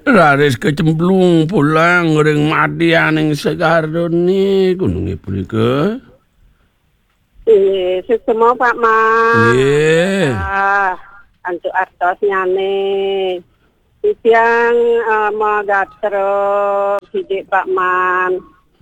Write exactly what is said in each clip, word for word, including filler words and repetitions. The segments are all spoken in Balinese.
Raris kecemplung pulang ring madianing segarane gununge punika. Nggih, suksma, Pak Man. Nggih. Ah, antuk artosnyane. Titiang, eh, magatra sidik, Pak Man.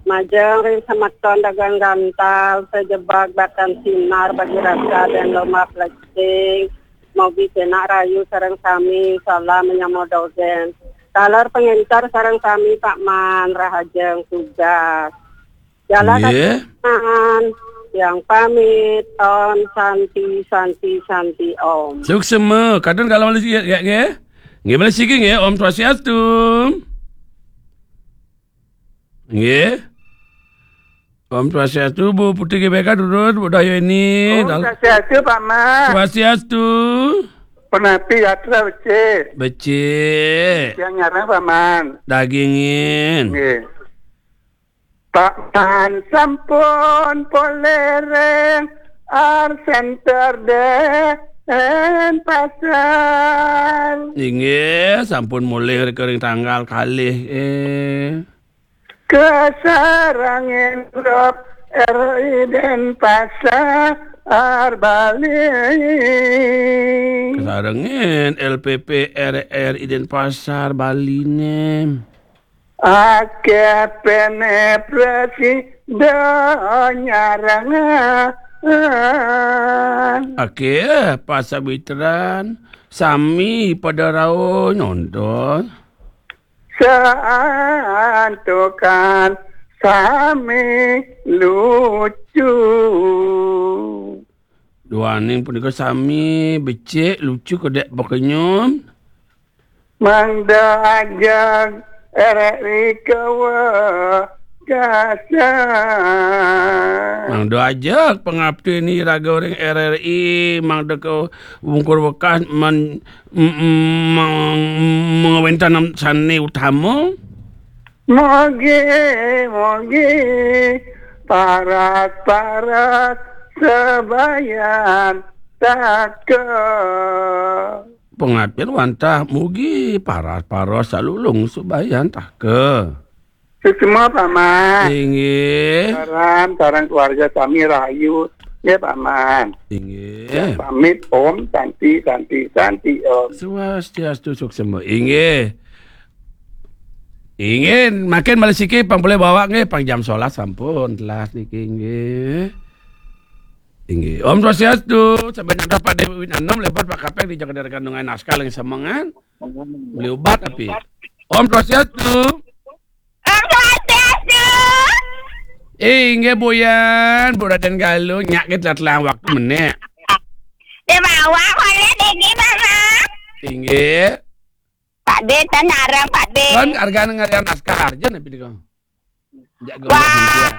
Majeng ring semeton dagang gantal, sejebag batan sinar bagi rasa dan lomah plecing. Mogi cenak rayu sareng sami, salam menyama dogen. Taler pengentar sareng sami, Pak Man, rahajeng tugas. Jalan Nggih. Yang pamit, Om Santi, Santi, Santi, Om. Suksma, kadun kalau malih sikit, nggih, nggih. Nggih, malih sikit, nggih. Om Swastiastu. Nggih. Om Swastiastu, Bu Putri G B K, durus, Bu Dayani. Om Dal- Swastiastu, Pak Man. Swastiastu. Penapi yatra becik. Becik. Yang nyarang, Pak Man. Dagingin. Nggih. Pak Man sampun polih ring Art Center Denpasar. Inggih, sampun mulih ring tanggal kalih, eh. Kasarengin grup R I Denpasar Bali. Kasarengin L P P R I Denpasar Baline. Akeh penetrasi donyarangan. Akeh pasawitran, sami pada rauh nonton. Santukan sami lucu. Duaning punika sami becik, lucu, kedek, pekenyum. Mangda ajeng R R I kawekasan. Mangda ajeng pangapti ni raga ring R R I, mangda ka wungkur wekas men-, m-, m-, meng-, mengawéntenan sané utama. Mogi, mogi, paras-paras sabayan teka. Pangaptin wantah mugi paras-paras salulung subayan teka. Suksma, Paman. Inggih. Sareng, sareng keluarga sami rahayu. Nggih, Paman. Inggih. Ya, pamit, Om. Santi, santi, santi, Om. Swastiastu, suksma. Inggih. Inggih, mangkin malih siki pang polih bawak nggih, pang jam sebelas sampun telas niki nggih. Inggih. Om Swastiastu, sampai nyantos Pak Dewi Anom, lepot Pak Kapeng di Jakarta Kandungan Naskah lagi semengan. Beli obat tapi. Om Swastiastu. Om Swastiastu. Eh, inggih Buyan, Bu Raden Galuh, nyak kita telah waktu menek. Di bawah boleh degi, Mama. Inggih. Pak De, tan arang, Pak De. Kan arga ngarian naskah, jen napi dika. Jak gemuk. Wah,